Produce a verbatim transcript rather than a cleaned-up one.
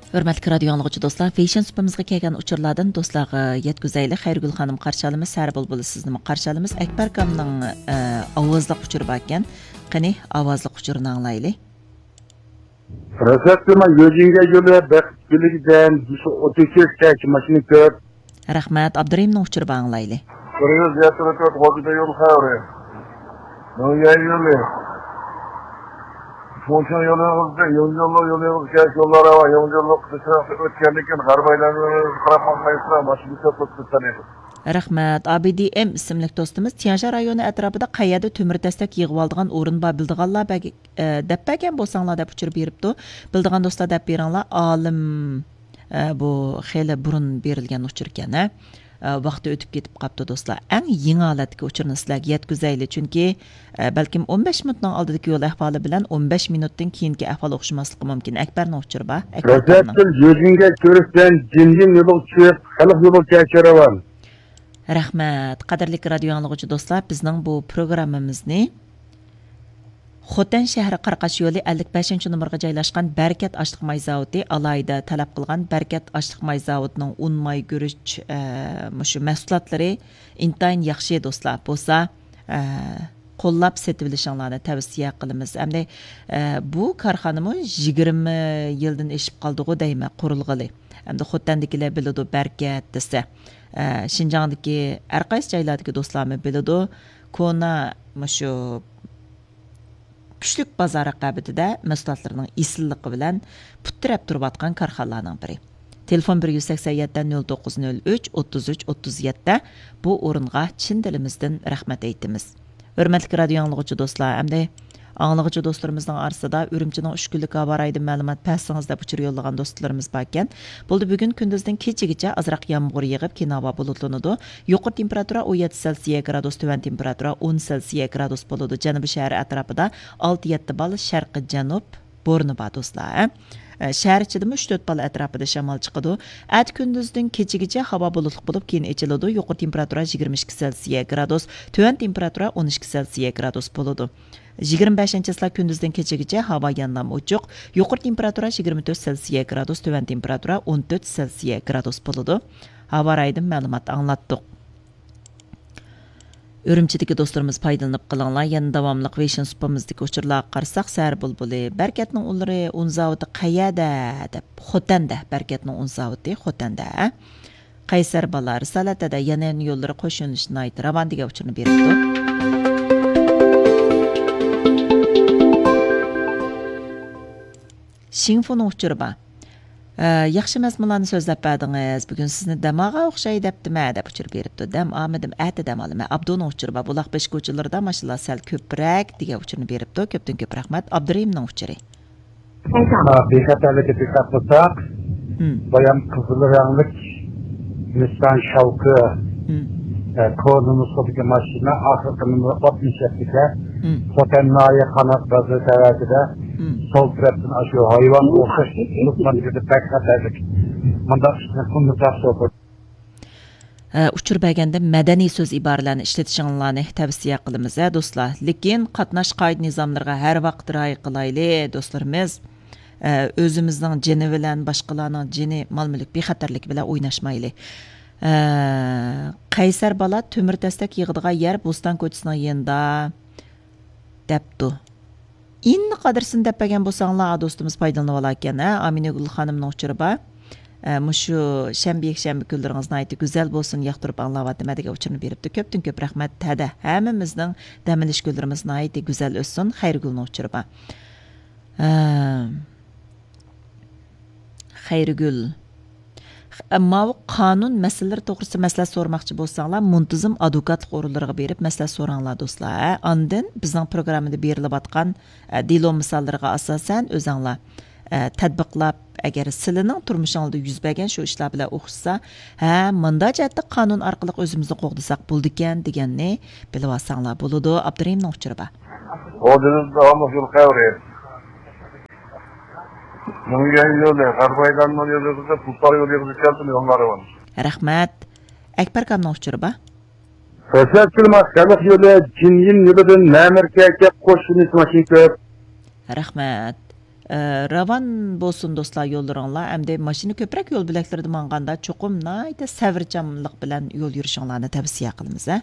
ھۆرمەتلىك رادىيو ئاڭلىغۇچى دوستلار، فېشن سۇپىمىزغا كەلگەن ئۇچۇرلاردىن دوستلارغا يەتكۈزەيلى. خەيرىگۈل خانىم قارشى ئالىمىز، سەھەر بۇلبۇلى سىزنىمۇ قارشى ئالىمىز. ئەكبەر ئاكامنىڭ، ئە، ئاۋازلىق ئۇچۇرى باركەن. قېنى، ئاۋازلىق ئۇچۇرىنى ئاڭلايلى. رەسەتتىما يۆجىنگە يولى بەخت گۈلىگىدەن ئوتتۇز ئۈچ كەچ ماشىنا كۆپ. رەھمەت، ئابدۇرېھىمنىڭ ئۇچۇرى بار، ئاڭلايلى. بىر يۈز يەتتە تۆت غوجىدا يول خەۋىرى. نويەن يولى. شۇڭشىڭ يولىغىزدا يولى يولى يولىغىز كەچ يوللار ھاۋا يولى يولى قىسىشراق ئۆتكەندىن كېيىن غەربەيلەرنى قاراپ باقمايسىلەر ماشىنا كۆپ قىلىپ كېتەلەيدۇ. رەھمەت. ئابىدىئېم ئىسىملىك دوستىمىز، تيەنشان رايونى ئەتراپىدا قەيەردە تۆمۈر تەستەك يىغىۋالىدىغان ئورۇن بار، بىلىدىغانلار بەگ-، ئە، دەپ بەرگەن بولساڭلار دەپ ئۇچۇر بېرىپتۇ. بىلىدىغان دوستلار دەپ بېرىڭلار. ئالىم، ئە، بۇ خېلى بۇرۇن بېرىلگەن ئۇچۇركەن، ھە؟ ئە، ۋاقتى ئۆتۈپ كېتىپ قاپتۇ دوستلار. ئەڭ يېڭى ھالەتتىكى ئۇچۇرنى سىلەرگە يەتكۈزەيلى، چۈنكى، ئە، بەلكىم ئون بەش مىنۇتنىڭ ئالدىدىكى يول ئەھۋالى بىلەن ئون بەش مىنۇتتىن كېيىنكى ئەھۋال ئوخشىماسلىقى مۇمكىن. ئەكبەرنىڭ ئۇچۇرى بار. ئەكبەر ئاكامنىڭ. رەسەتتىن يۆجىنگە كۆرۈشتەن جىنجىن يولىغا چۈشۈپ، خەلق يولىغا كەچۈرۈۋال. رەھمەت. قەدىرلىك رادىيو ئاڭلىغۇچى دوستلار، بىزنىڭ بۇ پروگراممىمىزنى خوتەن شەھىرى قاراقاش يولى ئەللىك بەشىنچى نومۇرغا جايلاشقان بەرىكەت ئاشلىق ماي زاۋۇتى ئالاھىدە تەلەپ قىلغان. بەرىكەت ئاشلىق ماي زاۋۇتىنىڭ ئۇن، ماي، گۈرۈچ، ئە، مۇشۇ مەھسۇلاتلىرى ئىنتايىن ياخشى دوستلار. بولسا، ئە، قوللاپ سېتىۋېلىشىڭلارنى تەۋسىيە قىلىمىز. ئەمدى، ئە، بۇ كارخانىمۇ يىگىرمە يىلدىن ئېشىپ قالدىغۇ دەيمەن، قۇرۇلغىلى. ئەمدى خوتەندىكىلەر بىلىدۇ، بەرىكەت دېسە. ئە، شىنجاڭدىكى ھەر قايسى جايلاردىكى دوستلارمۇ بىلىدۇ. كونا مۇشۇ كۈچلۈك بازار رىقابىتىدە مەھسۇلاتلىرىنىڭ ئېسىللىقى بىلەن پۇت تىرەپ تۇرۇۋاتقان كارخانىلارنىڭ بىرى. تېلېفون بىر يۈز سەكسەن يەتتە نۆل توققۇز نۆل ئۈچ ئوتتۇز ئۈچ ئوتتۇز يەتتە. بۇ ئورۇنغا چىن دىلىمىزدىن رەھمەت ئېيتىمىز. ھۆرمەتلىك رادىيو ئاڭلىغۇچى دوستلار، ئەمدى ئاڭلىغۇچى دوستلىرىمىزنىڭ ئارىسىدا ئۈرۈمچىنىڭ ئۈچ كۈنلۈك ھاۋا رايىدىن مەلۇمات بەرسىڭىز دەپ ئۇچۇر يوللىغان دوستلىرىمىز باركەن. بولدى، بۈگۈن كۈندۈزدىن كېچىگىچە ئازراق يامغۇر يېغىپ، كېيىن ھاۋا بۇلۇتلىنىدۇ. يۇقىرى تېمپېراتۇرا ئون يەتتە سېلسىيە گرادۇس، تۆۋەن تېمپېراتۇرا ئون سېلسىيە گرادۇس بولىدۇ. جەنۇبىي شەھەر ئەتراپىدا ئالتە يەتتە بال شەرقىي جەنۇب بورىنى بار دوستلار. ئە، شەھەر ئىچىدىمۇ ئۈچ تۆت بال ئەتراپىدا شامال چىقىدۇ. ئەتە كۈندۈزدىن كېچىگىچە ھاۋا بۇلۇتلۇق بولۇپ، كېيىن ئېچىلىدۇ. يۇقىرى تېمپېراتۇرا يىگىرمە ئىككى سېلسىيە گرادۇس، تۆۋەن تېمپېراتۇرا ئون ئىككى سېلسىيە گرادۇس بولىدۇ. يىگىرمە بەشىنچى چىسلا كۈندۈزدىن كېچىگىچە ھاۋا يەنىلا ئوچۇق. يۇقىرى تېمپېراتۇرا يىگىرمە تۆت سېلسىيە گرادۇس، تۆۋەن تېمپېراتۇرا ئون تۆت سېلسىيە گرادۇس بولىدۇ. ھاۋا رايىدىن مەلۇمات ئاڭلاتتۇق. ئۈرۈمچىدىكى دوستلىرىمىز پايدىلىنىپ قېلىڭلار. يەنە داۋاملىق ۋېيشىن سۇپىمىزدىكى ئۇچۇرلارغا قارىساق، سەھەر بۇلبۇلى، بەرىكەتنىڭ ئۇنلىرى، ئۇن زاۋۇتى قەيەردە؟ دەپ، خوتەندە، بەرىكەتنىڭ ئۇن زاۋۇتى خوتەندە. قەيسەر بالا، رىسالەت ھەدە، يەنە يوللىرى قوش يۆنىلىشتە ناھايىتى راۋان دېگەن ئۇچۇرنى بېرىپتۇ. شىڭفۇنىڭ ئۇچۇرى بار. ئە، ياخشى مەزمۇنلارنى سۆزلەپ بەردىڭىز. بۈگۈن سىزنى دەم ئالغان ئوخشاي دەپتىمەن دەپ ئۇچۇر بېرىپتۇ. دەم ئالمىدىم، ئەتە دەم ئالىمەن. ئابدۇنىڭ ئۇچۇرى بار. بۇلاق بېشى كوچىلىرىدا ماشىنىلار سەل كۆپرەك دېگەن ئۇچۇرنى بېرىپتۇ. كۆپتىن كۆپ رەھمەت. ئابدۇرېھىمنىڭ ئۇچۇرى. ھە، بىخەتەرلىككە دىققەت قىلساق، مم. بايام قىزىل رەڭلىك نىسسان شاۋكى، مم. ئە، كونا نۇسخىدىكى ماشىنا، ئاخىرقى نومۇرى ئاتمىش يەتتە ئىكەن. مم. خوتەن ناھىيە قانات بازىرى تەۋەسىدە مم. سول تەرەپتىن ئاشۇ ھايۋان ئوخشاش لوقمان كىردى، بەك خەتەرلىك. مۇنداق ئىشنى قىلمىساق شوپۇر. ئە، ئۇچۇر بەرگەندە مەدەنىي سۆز ئىبارىلەرنى ئىشلىتىشىڭلارنى تەۋسىيە قىلىمىز، ھە، دوستلار. لېكىن قاتناش قائىدە نىزاملىرىغا ھەر ۋاقىت رىئايە قىلايلى، دوستلىرىمىز. ئە، ئۆزىمىزنىڭ جېنى بىلەن باشقىلارنىڭ جېنى، مال-مۈلۈك، بىخەتەرلىكى بىلەن ئويناشمايلى. ئە، قەيسەر بالا تۆمۈر تەستەك يىغىدىغان يەر بوستان كوچىسىنىڭ يېنىدا، دەپتۇ. ئىننى قەدرىسىنى دەپ بەرگەن بولساڭلار، دوستىمىز پايدىلىنىۋالاركەن، ھە؟ ئامىنەگۈل خانىمنىڭ ئۇچۇرى بار. ئە، مۇشۇ شەنبە، يەكشەنبە كۈنلىرىڭىز ناھايىتى گۈزەل بولسۇن، ياقتۇرۇپ ئاڭلاۋاتىمەن دېگەن ئۇچۇرنى بېرىپتۇ. كۆپتىن كۆپ رەھمەت. ھەدە، ھەممىمىزنىڭ دەم ئېلىش كۈنلىرىمىز ناھايىتى گۈزەل ئۆتسۇن. خەيرىگۈلنىڭ ئۇچۇرى بار. ئە، خەيرىگۈل. خ-، ماۋۇ قانۇن مەسىلىلىرى توغرىسىدا مەسلىھەت سورىماقچى بولساڭلار، مۇنتىزىم ئادۋوكاتلىق ئورۇنلىرىغا بېرىپ مەسلىھەت سوراڭلار، دوستلار. ھە، ئاندىن بىزنىڭ پروگراممىدا بېرىلىۋاتقان، ئە، دېلو مىساللىرىغا ئاساسەن ئۆزەڭلار، ئە، تەتبىقلاپ، ئەگەر سىلىنىڭ تۇرمۇشىڭلاردا يۈز بەرگەن شۇ ئىشلار بىلەن ئوخشىسا، ھە، مۇنداق جەھەتتە قانۇن ئارقىلىق ئۆزىمىزنى قوغدىساق بولىدىكەن دېگەننى بىلىۋالساڭلار بولىدۇ. ئابدۇرېھىمنىڭ ئۇچۇرى بار. ھوجىنىڭ داۋاملىق يول خەۋىرى. مىڭ يۈەن يولى، غەربىي ئايلانما يولى، تۇلپار يولى، يوللار راۋان. رەھمەت. ئەكبەر ئاكامنىڭ ئۇچۇرى بار. رەسەت كۈلماق خەلق يولى، جىنيىن يولىدىن مەمۇركەگە قوشۇلۇش ماشىنا كۆپ. رەھمەت. ئە، راۋان بولسۇن دوستلار يوللىرىڭلار. ئەمدى ماشىنا كۆپرەك يول بۆلەكلىرىدە ماڭغاندا چوقۇم ناھايىتى سەۋرچانلىق بىلەن يول يۈرۈشۈڭلارنى تەۋسىيە قىلىمىز، ھە.